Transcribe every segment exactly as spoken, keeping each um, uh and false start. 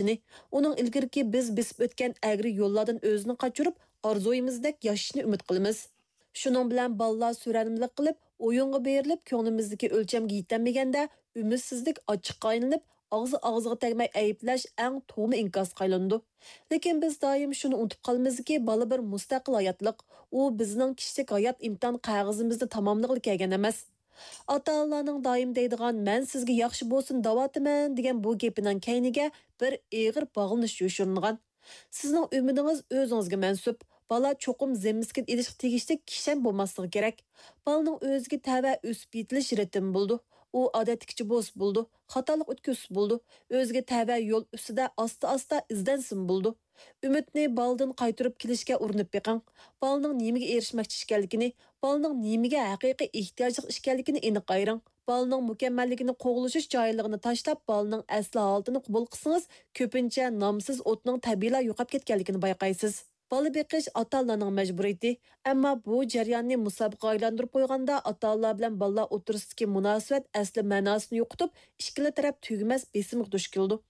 ئۇنىڭ ئىلگىرىكى بىز بېسىپ ئۆتكەن ئەگرى يوللاردىن ئۆزىنى قاچۇرۇپ، ئارزۇيىمىزدەك ياشىشىنى ئۈمىد قىلىمىز. شۇنىڭ بىلەن بالىلار سۆرەنمىلىك قىلىپ، ئويۇنغا بېرىلىپ، كۆڭلىمىزدىكى ئۆلچەمگە يېتەلمىگەندە، ئۈمىدسىزلىك ئاچچىققا ئايلىنىپ، ئاغزى ئاغزىغا تەگمەي ئەيىبلەش ئەڭ تۇغما ئىنكاسقا ئايلىنىدۇ. لېكىن بىز دائىم شۇنى ئۇنتۇپ قالىمىزكى، بالا بىر مۇستەقىل ھاياتلىق. ئۇ بىزنىڭ كىشىلىك ھايات ئىمتىھان قەغىزىمىزنى تاماملىغىلى كەلگەن ئەمەس. ئاتا-ئانىلارنىڭ دائىم دەيدىغان «مەن سىزگە ياخشى بولسۇن دەۋاتىمەن» دېگەن بۇ گېپىنىڭ كەينىگە بىر ئېغىر باغلىنىش يوشۇرۇنغان. سىزنىڭ ئۈمىدىڭىز ئۆزىڭىزگە مەنسۇپ. بالا چوقۇم زىممىسىگە ئېلىشقا تېگىشلىك كىشەن بولماسلىقى كېرەك. بالىنىڭ ئۆزىگە تەۋە ئۆسۈپ يېتىلىش رىتىمى بولىدۇ. ئۇ ئادەتتىكىچە بولسا بولىدۇ، خاتالىق ئۆتكۈزسە بولىدۇ، ئۆزىگە تەۋە يول ئۈستىدە ئاستا-ئاستا ئىزدەنسىمۇ بولىدۇ. ئۈمىدنى بالىدىن قايتۇرۇپ كېلىشكە ئۇرۇنۇپ بېقىڭ. بالىنىڭ نېمىگە ئېرىشمەكچى ئىكەنلىكىنى، بالىنىڭ نېمىگە ھەقىقىي ئېھتىياجلىق ئىكەنلىكىنى ئېنىق ئايرىڭ. بالىنىڭ مۇكەممەللىكىنى قوغلىشىش جاھىللىقىنى تاشلاپ، بالىنىڭ ئەسلى ھالىتىنى قوبۇل قىلسىڭىز، كۆپىنچە نامسىز ئوتنىڭ تەبىئىيلا يوقاپ كەتكەنلىكىنى بايقايسىز. بالا بېقىش ئاتا-ئانىلارنىڭ مەجبۇرىيىتى. ئەمما بۇ جەرياننى مۇسابىقىگە ئايلاندۇرۇپ قويغاندا، ئاتا-ئانىلار بىلەن بالىلار ئوتتۇرىسىدىكى مۇناسىۋەت ئەسلى مەناسىنى يوقىتىپ، ئىككىلا تەرەپ تۈگىمەس بېسىمغا دۇچ كېلىدۇ.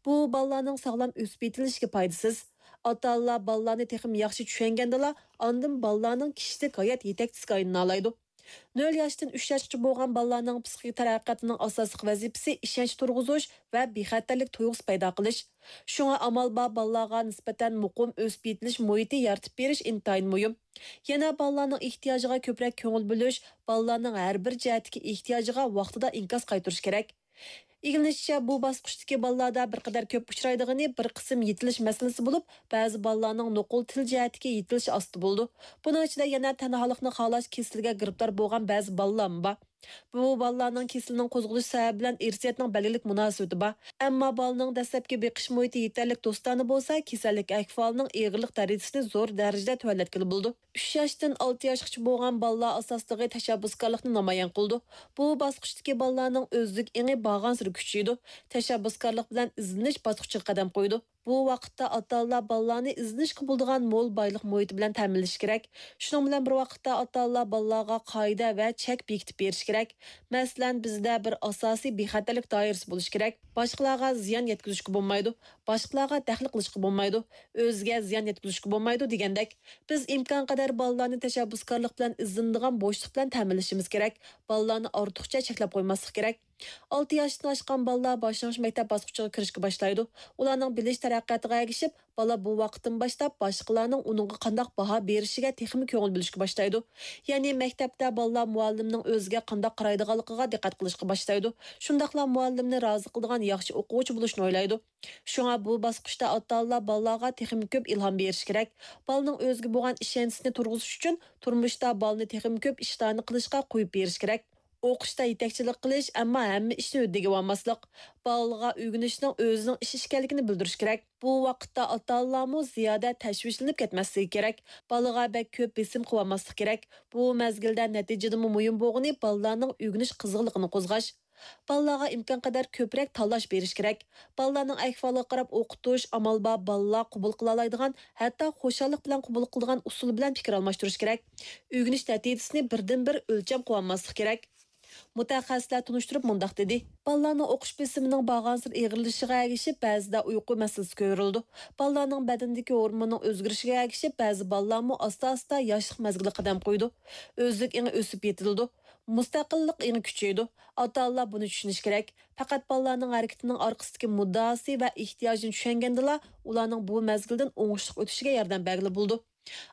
بۇ بالىلارنىڭ ساغلام ئۆسۈپ يېتىلىشىگە پايدىسىز. ئاتا-ئانىلار بالىلارنى تېخىمۇ ياخشى چۈشەنگەندىلا، ئاندىن بالىلارنىڭ كىشىلىك ھايات يېتەكچىسىگە ئايلىنالايدۇ. نۆل ياشتىن ئۈچ ياشقىچە بولغان بالىلارنىڭ پسىخىك تەرەققىياتىنىڭ ئاساسلىق ۋەزىپىسى ئىشەنچ تۇرغۇزۇش ۋە بىخەتەرلىك تۇيغۇسى پەيدا قىلىش. شۇڭا ئامال بار بالىلارغا نىسبەتەن مۇقىم ئۆسۈپ يېتىلىش مۇھىتى يارىتىپ بېرىش ئىنتايىن مۇھىم. يەنە بالىلارنىڭ ئېھتىياجىغا كۆپرەك كۆڭۈل بۆلۈش، بالىلارنىڭ ھەر بىر جەھەتتىكى ئېھتىياجىغا ۋاقتىدا ئىنكاس قايتۇرۇش كېرەك. ئىگىلىنىشىچە، بۇ باسقۇچتىكى بالىلاردا بىر قەدەر كۆپ ئۇچرايدىغىنى بىر قىسىم يېتىلىش مەسىلىسى بولۇپ، بەزى بالىلارنىڭ نوقۇل تىل جەھەتتىكى يېتىلىشى ئاستا بولىدۇ. بۇنىڭ ئىچىدە يەنە تەنھالىقنى خالاش كېسىلىگە گىرىپتار بولغان بەزى بالىلارمۇ بار. بۇ بالىلارنىڭ كېسىلىنىڭ قوزغىلىش سەۋەبى بىلەن ئىرسىيەتنىڭ بەلگىلىك مۇناسىۋىتى بار. ئەمما بالىنىڭ دەسلەپكى بېقىش مۇھىتى يېتەرلىك دوستانە بولسا، كېسەللىك ئەھۋالىنىڭ ئېغىرلىق دەرىجىسىنى زور دەرىجىدە تۆۋەنلەتكىلى بولىدۇ. ئۈچ ياشتىن ئالتە ياشقىچە بولغان بالىلار ئاساسلىقى تەشەببۇسكارلىقنى نامايان قىلىدۇ. بۇ باسقۇچتىكى بالىلارنىڭ ئۆزلۈك ئېڭى بارغانسېرى كۈچىيىدۇ، تەشەببۇسكارلىق بىلەن ئىزدىنىش باسقۇچىغا قەدەم قويىدۇ. بۇ ۋاقىتتا ئاتا-ئانىلار بالىلارنى ئىزدىنىشكە بولىدىغان مول بايلىق مۇھىتى بىلەن تەمىنلىشى كېرەك. شۇنىڭ بىلەن بىر ۋاقىتتا، ئاتا-ئانىلار بالىلارغا قائىدە ۋە چەك بېكىتىپ بېرىشى كېرەك. مەسىلەن، بىزدە بىر ئاساسىي بىخەتەرلىك دائىرىسى بولۇشى كېرەك. باشقىلارغا زىيان يەتكۈزۈشكە بولمايدۇ، باشقىلارغا دەخلى قىلىشقا بولمايدۇ، ئۆزىگە زىيان يەتكۈزۈشكە بولمايدۇ دېگەندەك. بىز ئىمكانقەدەر بالىلارنى تەشەببۇسكارلىق بىلەن ئىزدىنىدىغان بوشلۇق بىلەن تەمىنلىشىمىز كېرەك. بالىلارنى ئارتۇقچە چەكلەپ قويماسلىق كېرەك. ئالتە ياشتىن ئاشقان بالىلار باشلانغۇچ مەكتەپ باسقۇچىغا كىرىشكە باشلايدۇ. ئۇلارنىڭ بىلىش تەرەققىياتىغا ئەگىشىپ، بالا بۇ ۋاقىتتىن باشلاپ باشقىلارنىڭ ئۇنىڭغا قانداق باھا بېرىشىگە تېخىمۇ كۆڭۈل بۆلۈشكە باشلايدۇ. يەنى مەكتەپتە بالىلار مۇئەللىمنىڭ ئۆزىگە قانداق قارايدىغانلىقىغا دىققەت قىلىشقا باشلايدۇ. شۇنداقلا مۇئەللىمنى رازى قىلىدىغان ياخشى ئوقۇغۇچى بولۇشنى ئويلايدۇ. شۇڭا بۇ باسقۇچتا ئاتا-ئانىلار بالىلارغا تېخىمۇ كۆپ ئىلھام بېرىشى كېرەك. بالىنىڭ ئۆزىگە بولغان ئىشەنچىسىنى تۇرغۇزۇش ئۈچۈن تۇرمۇشتا بالىنى تېخىمۇ كۆپ ئىشلارنى قىلىشقا قويۇپ بېرىش كېرەك. ئوقۇشتا يېتەكچىلىك قىلىش، ئەمما ھەممە ئىشنى ھۆددىگە ئالماسلىق. بالىغا ئۆگىنىشنىڭ ئۆزىنىڭ ئىش ئىكەنلىكىنى بىلدۈرۈش كېرەك. بۇ ۋاقىتتا ئاتا-ئانىلارمۇ زىيادە تەشۋىشلىنىپ كەتمەسلىكى كېرەك. بالىغا بەك كۆپ بېسىم قىلىۋالماسلىق كېرەك. بۇ مەزگىلدە نەتىجىدىنمۇ مۇھىم بولغىنى بالىلارنىڭ ئۆگىنىش قىزغىنلىقىنى قوزغاش. بالىلارغا ئىمكانقەدەر كۆپرەك تاللاش بېرىش كېرەك. بالىلارنىڭ ئەھۋالىغا قاراپ ئوقۇتۇش، ئامال بار بالىلار قوبۇل قىلالايدىغان، ھەتتا خۇشاللىق بىلەن قوبۇل قىلىدىغان ئۇسۇل بىلەن پىكىر ئالماشتۇرۇش كېرەك. ئۆگىنىش نەتىجىسىنى بىردىنبىر ئۆلچەم قىلىۋالماسلىق كېرەك. مۇتەخەسسىسلەر تونۇشتۇرۇپ مۇنداق دېدى: بالىلارنىڭ ئوقۇش بېسىمىنىڭ بارغانسېرى ئېغىرلىشىشىغا ئەگىشىپ، بەزىدە ئۇيقۇ مەسىلىسى كۆرۈلىدۇ. بالىلارنىڭ بەدىنىدىكى ھورموننىڭ ئۆزگىرىشىگە ئەگىشىپ، بەزى بالىلارمۇ ئاستا-ئاستا ياشلىق مەزگىلىگە قەدەم قويىدۇ. ئۆزلۈك ئېڭى ئۆسۈپ يېتىلىدۇ. مۇستەقىللىق ئېڭى كۈچىيىدۇ. ئاتا-ئانىلار بۇنى چۈشىنىشى كېرەك. پەقەت بالىلارنىڭ ھەرىكىتىنىڭ ئارقىسىدىكى مۇددىئاسى ۋە ئېھتىياجىنى چۈشەنگەندىلا، ئۇلارنىڭ بۇ مەزگىلدىن ئوڭۇشلۇق ئۆتۈشىگە ياردەم بەرگىلى بولىدۇ.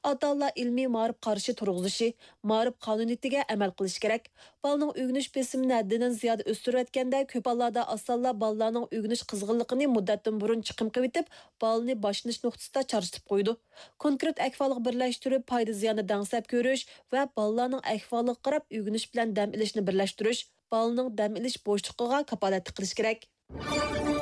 ئاتا-ئانىلار ئىلمىي مائارىپ قارىشى تۇرغۇزۇشى، مائارىپ قانۇنىيىتىگە ئەمەل قىلىشى كېرەك. بالىنىڭ ئۆگىنىش بېسىمىنى ھەددىدىن زىيادە ئۆستۈرۈۋەتكەندە، كۆپ ھاللاردا ئاتا-ئانىلار بالىلارنىڭ ئۆگىنىش قىزغىنلىقىنى مۇددەتتىن بۇرۇن چىقىم قىلىۋېتىپ، بالىنى باشلىنىش نۇقتىسىدا چارچىتىپ قويىدۇ. كونكرېت ئەھۋالغا بىرلەشتۈرۈپ، پايدا زىياننى دەڭسەپ كۆرۈش ۋە بالىلارنىڭ ئەھۋالىغا قاراپ ئۆگىنىش بىلەن دەم ئېلىشنى بىرلەشتۈرۈش، بالىنىڭ دەم ئېلىش بوشلۇقىغا كاپالەتلىك قىلىش كېرەك.